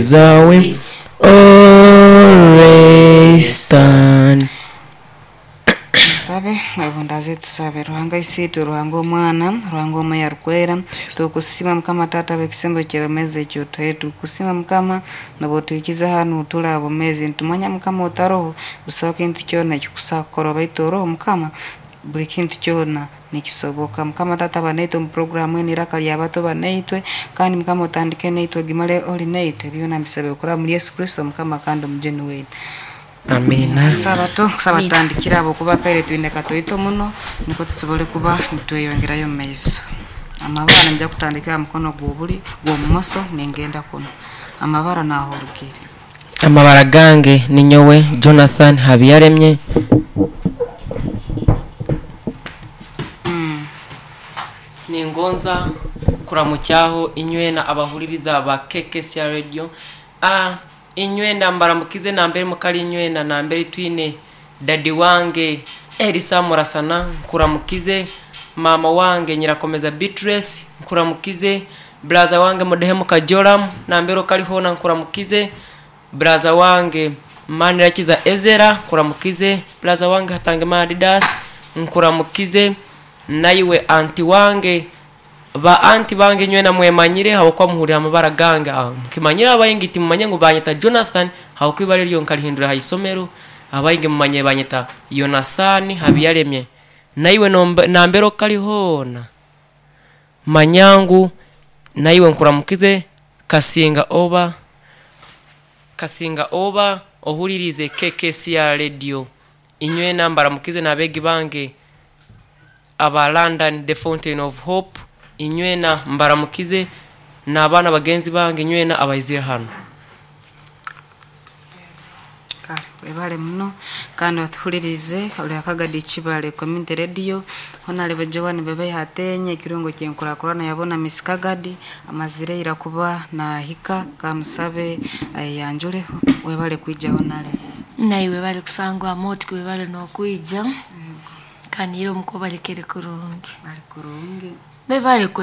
Zawe always stand. Nsabe mwebundaze, tusabe. Ruhanga Isiitwe, Ruhanga Omwana, Ruhanga Omwoyo Arukwera, tukusima Mukama Taata bw'ekisembo ky'obwomeezi ekyotuhaire. Tukusima Mukama n'obwotuhikize hanu tuli abomezi. Nitumanya Mukama otaroho busaho kintu kyona ekikusobola kukorwa, baitu oroho Mukama buli kintu kyona nikisoboka. Mukama Taata, ba naitwe omu puroguramu enu Iraka ly'Abato, ba naitwe kandi Mukama otandike naitwe ogimale oli naitwe. Byona mbisabire kuraba omuli Yesu Kristo Mukama kandi Omujuni waitu. Amina. Saba kusaba tutandikire habwokuba akaire twine katoito muno, nukwo tusobole kuba nitweyongerayo omu maiso. Amabara ningya kutandikira ha mukono gw'obuli gw'obumoso ningenda kunu. Amabara naaho orugire. Amabara gange ninyowe Jonathan Habiyaremye. Ningonza kuramukyaho inywena abahuliriza ba KKCR Radio. Inywena mbaramukize nambere mukali, inywena nambere twine dadi wange Elisa Murasana, nkuramukize. Mama wange Nyirakomeza Beatrice, nkuramukize. Braza wange Mudehemu Kajoram, nambere okali hona nkuramukize. Braza wange Manirakiza Ezera, nkuramukize. Braza wange Hatangimana Didas, nkuramukize. Naiwe anti wange, ba anti bange nywena mwemanyire habwokuba muhurira amabara gange. Mukimanyire abaingi timumanye ngu banyeta Jonathan, habwokuba ibara eryo nkalihindura ha isomero. Abaingi mumanye banyeta Yonasani Habiyaremye. Naiwe nambere okali hoona manyangu naiwe nkuramukize. Kasinga oba kasinga oba ohulirize KKCR Radio, inywena mbaramukize n'abeegi bange aba London the Fountain of Hope, inywena mbaramukize n'abaana bagenzi bange inywena abaizire hanu. Kale webale muno kandi watuhulirize oli Akagadi Kibale Community Radio. Honalebo Joan Bebe Hatenye ekirungo kyenkurakurana yabona Miss Kagadi amazire ira kuba nahika, kamusabe ayanjule. Webale kwija honale. Naiwe bali kusangwa moti, webale n'okwija kanire omuko balekere kurungi. Bali kurungi. Bebale kwe.